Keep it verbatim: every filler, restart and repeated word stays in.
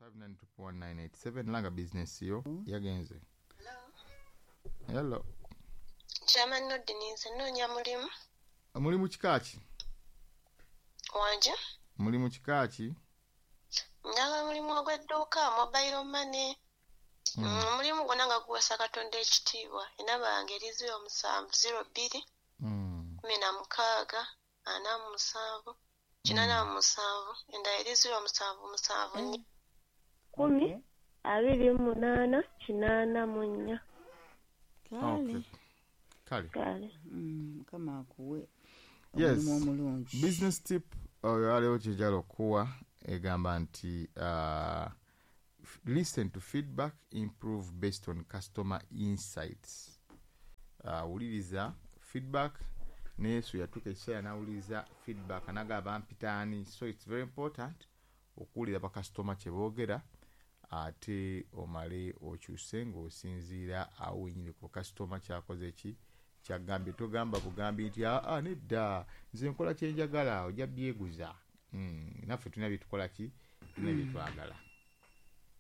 five nine two one nine eight seven. Langa bizinesi yo. Yagenze. Hello. Chairman Nodin, nze nnoonya mulimu. Mulimu kika ki? Wanje? Mulimu kika ki? Njagala mulimu ogw'edduuka, mobile money. Mm. Mm, omulimu gwonna nga guweesa Katonda ekitiibwa. Enamba yange eri zero musanvu zero bbiri Mm. kumi na mukaaga ana mu musanvu kinaana mu musanvu. Endala eri zero musanvu musanvu nnya kumi Okay. abiri mu munaana kinaana mu nnya. Kale. Okay. Kale. Kale. Mm, mukama akuwe Yes. omulimu omulungi. Business tip oyo aliwo kyejala okuwa egamba nti uh, f- listen to feedback, improve based on customer insights. uh, wuliriza feedback. Ne Yesu yatuuka ekiseera n'awuliriza feedback, anagamba mpitaani. So it's very important okuwulira bakasitoma kye boogera, ate omale okyuse ng'osinziira awo wenyini ku kasitoma kyakoze ki, kyagambye. Togamba bugambi nti, "Aa, nedda, nze nkola kyenjagala." Ojja byeguza. Mm, naffe tulina byetukola ki, tulina byetwagala.